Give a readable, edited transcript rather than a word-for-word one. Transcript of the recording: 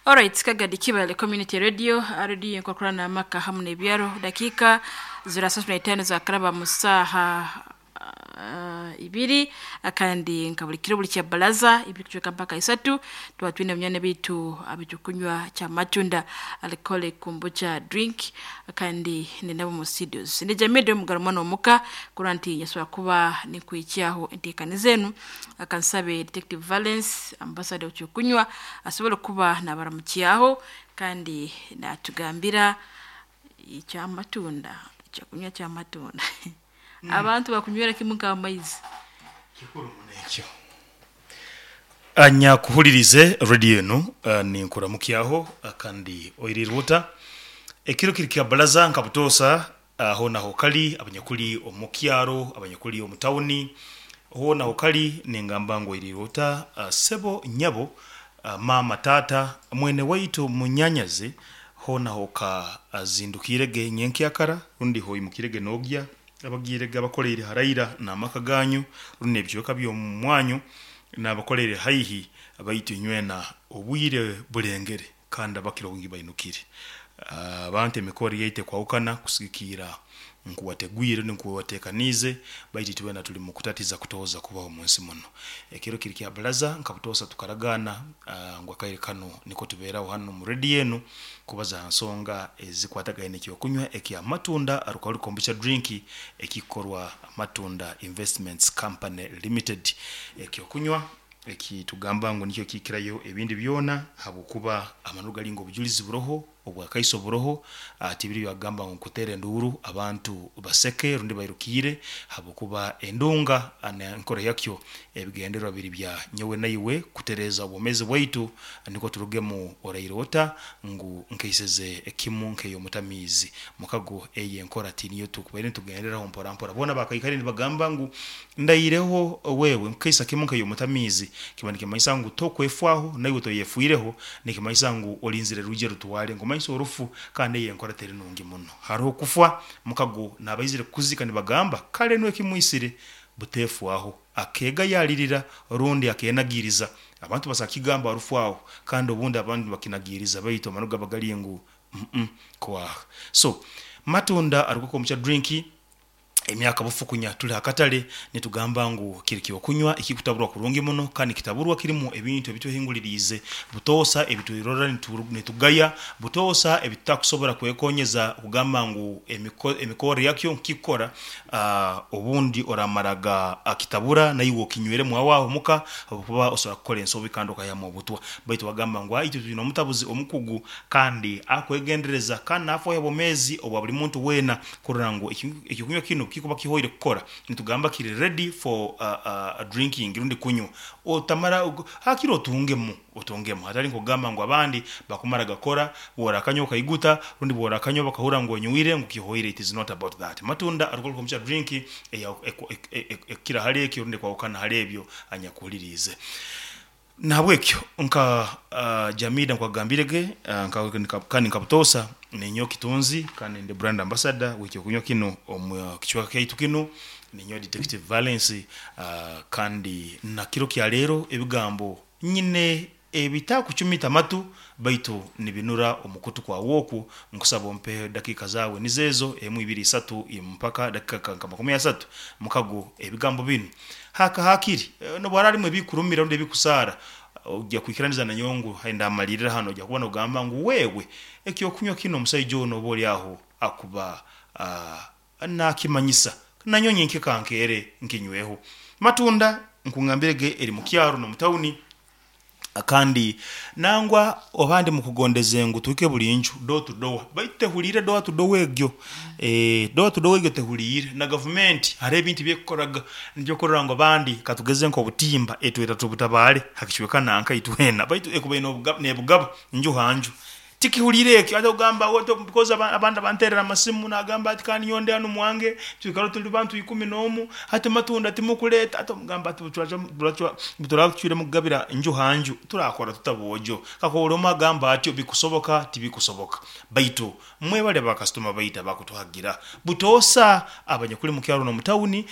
Alright, Kagadi Kibale Community Radio, radio enkokurana amaka hamu n'ebyaro. Dakika 35 zakaraba mu saaha 2, kandi nka buli kiro buli kya balaza 2 kucweka mpaka 3 tuba twine munyane bitu abitukunywa kya matunda alcoholic kombucha drink, kandi ninabo mu studios ndi Jamide Mugaro mwana omuka kurora nti nyasobola kuba ninkwikyaho enteekani zenu. Akansabe Detective Valence, ambassador w'ekyokunywa, asobole kuba nabaramukyaho kandi natugambira ekyamatunda, ekyokunywa kyamatunda abantu bakunywera kimu nk'amaizi. Kikuru muno ekyo. Anyakuhulirize radio enu, ninkuramukyaho kandi oirirwe ota? Ekiro kiri kya balaza nka butoosa hoona aho kali abanyakuli omu kyaro, abanyakuli omu tawuni, hoona aho kali ningamba ngu oirirwe ota sebo, nyabo, maama, taata, mwene waitu, munyanyazi, hoona aho ka zindukiirege nyenkyakara rundi hoimukirege nogya abagiirege abakoleire haraira n'amaka ganyu rundi n'ebicweka by'omu mwanyu n'abakoleire haihi, baitu inywena obwire bulengere kandi abakira obwingi bainukire. Abantu emikoro yaitu ekwahukana kusigikiira nkuwategwire rundi nkuwatekaniize, baitu itwena tuli mu kutatiza kutooza kubaho omunsi muno. Ekiro kiri kya balaza nka butoosa tukaragaana ngu akaire kanu niko tubeeraho hanu mu radio enu kubaza ha nsonga ezikwatagaine n'ekyokunywa ekya matunda alcoholic kombucha drink ekikorwa Matunda Investments Company Limited. Ekyokunywa ekitugamba ngu nikyo kikirayo ebindi byona habwokuba amananu gali ngu obujulizi buroho, obwakaiso buroho, tibiri byagamba ngu nkuteera enduuru abantu baseke rundi bairukiire, habwokuba endunga n'enkora yakyo ebigendererwa biri bya nyowe naiwe kutereeza obwomeezi bwaitu nikwo turugemu oraire ota ngu nkaiseze ekimu nk'ey'omutamiizi. Mukago eyo enkora tiniyo tukubaire nitugenderaho mpora mpora. Boona bakaikaire nibagamba ngu ndaireho wewe nkaisa kimu nk'ey'omutamiizi, kiba nikimanyisa ngu tokwefwaho naiwe toyefwireho, nikimanyisa ngu olinzire rwije rutwale nkumanyisa orufu, kandi eyo enkora teri nungi muno. Haroho kufwa mukago n'abaizire kukuzika nibagamba kale nuwe kimwisire buteefwaho akeegayalirira rundi akenagiiriza. Abantu basobola kukigamba rufu aho kandi obundi abandi nibakinagiiriza, baitu amananu gaba gali ngu kwaha. So matunda alcoholic kombucha drink emyaka bufukunya tuli hakatale nitugamba ngu kiri kyokunywa ekikutaburwa kurungi muno, kandi kitaburwa kirimu ebintu ebitwehinguliriize butoosa ebitwirora nitugaya butoosa ebitutakusobora kwekonyeza kugamba ngu emikorre yakyo nkikukora. Obundi oramaraga akitabura naiwe okinyweremu aho aho muka habwokuba osobola kukora ensobi kandi okaihamu obutwa, baitu bagamba ngu itwe twine omutabuzi omukugu kandi akwegendereza kandi nafaaho obwomeezi obwa buli muntu weena kurora ngu ekyokunywa kinu kikuba kihoire kukora, nitugamba kiri ready for drinking rundi kunywa, otamara hakiri otungemu otungemu, hatali nk'okugamba ngu abandi bakumara gakora bw'orakanywa okaiguta rundi bw'orakanywa bakahurra ngu onywire ngu kihoire. It is not about that. Matunda alcoholic kombucha drink ekukira hali ekyo rundi ekwahukana hali ebyo anyakuhuliriize. Nahabwekyo nka Jamida nkwagambirege kandi nka butoosa ninyowe Kitunzi kandi ndi brand ambassador w'ekyokunywa kinu omu kicweka kyaitu kinu, ninyowe Detective Valence, kandi na kiro kya leero ebigambo nyine ebitakucumita amatu baitu nibinura omukutu kwawe oku, nkusaba ompe dakiika zaawe nizo ezo 1, 2, 3 mpaka dakika nka 30 mukago ebigambo binu haka hakiri nobu haraaba harimu ebikurumira rundi ebikusaara ojja kwikiraniza nanyowe ngu ndamalirira hanu, ojja kuba nogamba ngu wewe ekyokunywa kinu omusaija onu oba oli aho akuba nakimanyisa nanyowe nyenkya kankeere nkinyweho. Matunda nkungambirege eri mu kyaro n'omu tawuni, kandi nangwa abandi mukugondeze ngu tuhike buli nju door to door, baitu tehuliire door to door egyo, door to door egyo tehuliire. Na gavumenti hariho ebintu ebyekukoraga nikyo okurora ngu abandi katugeze nk'obutimba etweta tubutabaale ha kicweka nanka itwena, baitu ekubaire nebugaba nju ha nju tikihuliire ekyo. Ate ogamba because abandi abanterera amasimu nagamba ati kandi nyowe ndi hanu mwange twikara tuli bantu 11, hati matunda timukuleeta, ati omugamba ati buturaba tucwiremu kugabira nju ha nju turakora tuta boojo? Kakuba buli omu agamba atyo bikusoboka tibikusoboka, baitu mwebale bakasitoma baitu abakutuhagira butoosa abanyakuli mu kyaro n'omu tawuni.